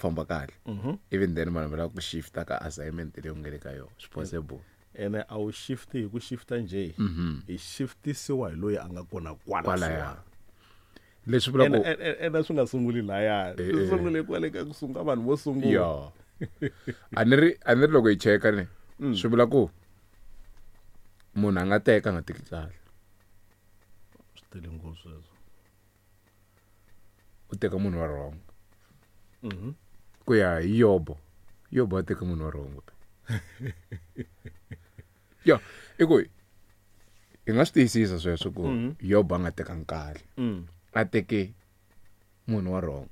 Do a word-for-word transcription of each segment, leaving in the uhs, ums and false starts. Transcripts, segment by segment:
famba kahle Mhm. even then vanhu va lava ku shifta ka assignment leyi u nga le ka yona swi possible ene a wu shift hi ku shifta njhe Mhm. hi shiftisiwa hi loyi a nga kona kwala kwalaya leswi vula ene ku ene- ene swi nga sunguli laya Eh, swi eh. sungule kwale ka ku sungula vanhu vo sungula ya a ni ri a ni ri loko hi cheka ne Mm. swi vula ku munhu a nga teka a nga teki kahle swi tele ngopfu sweswo u teka munhu wa wrong Mhm. ku ya hi yobo yobo a teka munhu wa wrong ya i ku hi nga swi tiyisisa sweswo ku Mhm. yobo a nga tekangi kahle Mm. a teke munhu wa wrong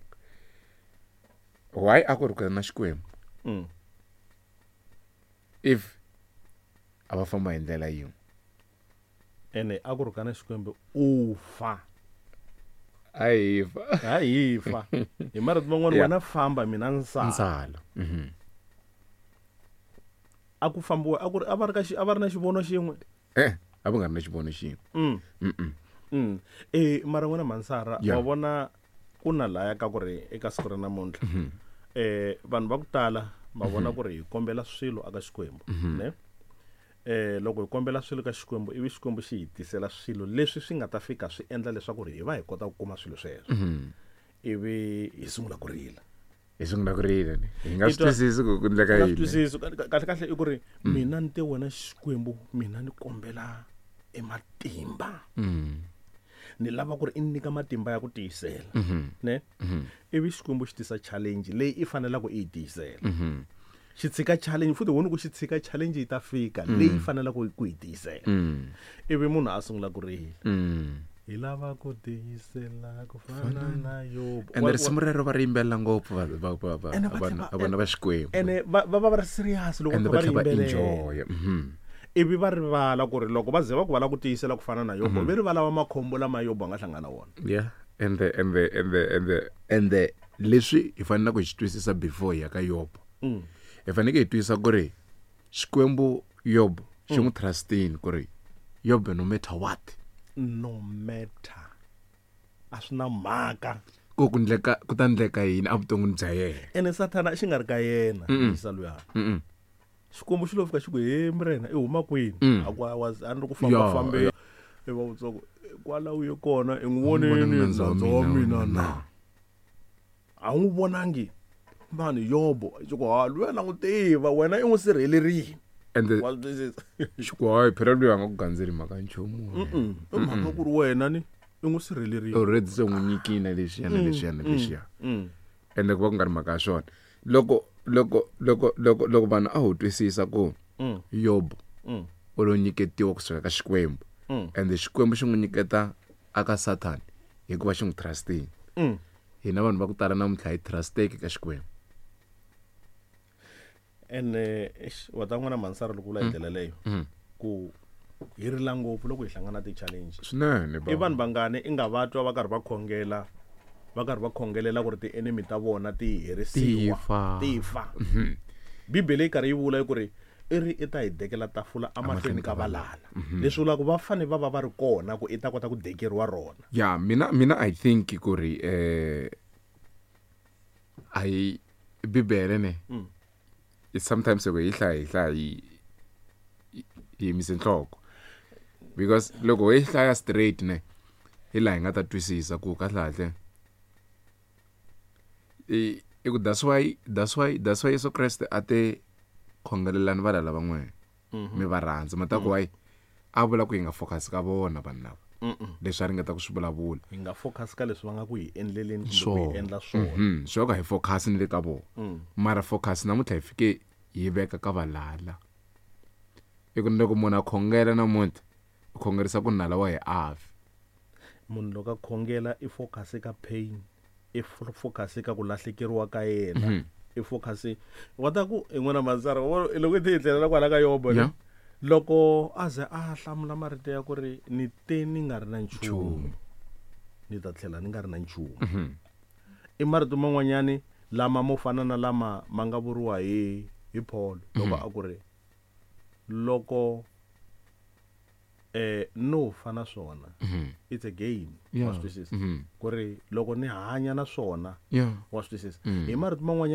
why a ku ri ku na xikwembu Mm. if a va famba hi ndlela yin'we ene a ku ri kana xikwembu u fa a hi fa ha hi fa hi marito man'wana Yeah. wena famba mina nsala ntsala Mhm. a ku fambiwa a ku ri a va ri ka xi- a va ri na xivono xin'we eh a va nga ri na xivono xin'we mm. Mm-mm. Mm. Eh mara n'wina mansara Yeah. wa vona ku na laya ka ku ri eka siku ra namuntlha Mhm. eh vanhu va ku tala ma vona ku ri hi kombela swilo aka xikwembu ne eh loko hi kombela swilo ka xikwembu ivi xikwembu xi hi tisela swilo leswi swi nga ta fika swi endla leswaku ri hi va hi kota ku kuma swilo sweswo Mhm. ivi hi sungula ku rila hi sungula ku rila ni hi nga I swi twa- twisisi ku ku endleka Nga swi yini twisisi Ka- kahle kahle i ku ri mina ni te wena xikwembu mina ni kombela ematimba Mm. ni lava ku ri i ni nyika matimba ya ku tiyisela Mhm. ne Mhm. ivi xikwembu xi tisa challenge leyi i fanelaka i yi tiyisela Mhm. xi tshika challenge futhi wona ku xi tshika challenge yi ta fika leyi i fanelaka ku yi tiyisela Mm. ivi munhu a sungula ku rila Mm. hi lava ku tiyisela ku fana na yobo ende risimu rero va ri yimbelela ngopfu va- va- va- va- Ene va vanhu tlhela- vana va xikwembu ene va va va va ri serious loko ende va va kha va tlhela ri va yimbelela enjoya Mhm. ivi va rivala ku ri loko va ze va ku va lava ku tiyisela ku fana na yobo ve rivala va makhombo lama yobo a nga hlangana na wona yeah ende ende ende ende ende leswi hi faneleke hi swi twisisa before hi ya ka yobo Mm. hi fanekele hi twisisa ku ri xikwembu yobo xi n'wi trustini ku ri yobo no matter what no matter a swi na mhaka ku ku ndleka ku ta ndleka yini evuton'wini bya yena ene sathana xi nga ri ka yena Mm-mm. yisa luya Mm-mm. xikwembu xi lo fika xi ku he murena i huma kwini Mm. a ku a was- a ni ri ku Ya, fambafambe ya. i va vutsoko kwala u ye kona i n'wi vonangi voneni nandza wa nandza wa mina mina na. na a wu n'wi vonangi mani yobo xi ku ha luya na n'wi tiva wena i n'wi sirhelerile ende wa swi twisisa xiku hayi phela loyi a nga ku gandzeli mhaka ya nchumu Mm-mm. i mhaka ku ri wena ni i n'wi sirhelerile already se n'wi nyikile na leswiya na leswiya na leswiya Mm. ende ku va ku nga ri mhaka ya swona loko loko loko loko loko vanhu a ho twisisa ku Mm. yobo Mm. u lo nyiketiwa kusuka ka xikwembu Mm. ende xikwembu xi n'wi nyiketa aka sathani hikuva xi n'wi trustini Mm. hina vanhu va ku tala namuntlha hi trusteki ka xikwembu ene eish, wa ta n'wana mansara loko vula hi ndlela leyo Mm. ku hi rila ngopfu loko hi hlangana na ti-challenge swinene i vanhu vangani i nga va twa va karhi va khongela va karhi va khongelela ku ri ti-enemy ta vona ti herisiwa Ti fa. ti fa bibele yi karhi yi vula ku ri i ri i ta hi dekela tafula amahlweni ka valala leswi vulaka va fane va va va ri kona ku i ta kota ku dekeriwa rona ya mina mina i think ku ri eh a hi bibele ne Mm. sometimes loko hi hlaya hi hlaya hi hi yimise nhloko because loko hi hlaya straight ne hi laha hi nga ta twisisa ku kahle kahle i i ku that's why that's why that's why Yesu Kreste a te khongelelani valala va n'wina mi va rhandza ma ta ku why a vula ku hi nga focus ka vona vanhu lava leswi a ringeta ku swi vulavula hi nga focus ka leswi va nga ku hi endleleni kumbe ku hi swona endla swona Mhm, swo ka hi focus ni le ka vona Mm. mara focus namuntlha hi fike hi veka ka valala i ku loko munhu a khongela namuntlha u khongerisa ku nala wa hi afi munhu loko a khongela i focus ka pain i fo- focus ka ku lahlekeriwa ka yena Mhm. i focus wa ta ku i n'wana mansara wa vona, loko i ti hi tlelela kwala ka yobo ne? Yeah. loko a ze a hlamula marito ya ku ri ni te ni nga ri na nchumu Nchumu. ni ta tlhela ni nga ri na nchumu i marito man'wanyani lama mo fana na lama ma nga vuriwa hi hi Paul loko a ku ri loko eh no fa na swona it's a game wa Yeah. swi twisisa Mhm. ku ri loko ni hanya na swona yeah wa swi twisisa Mm. hi marito man'wanyana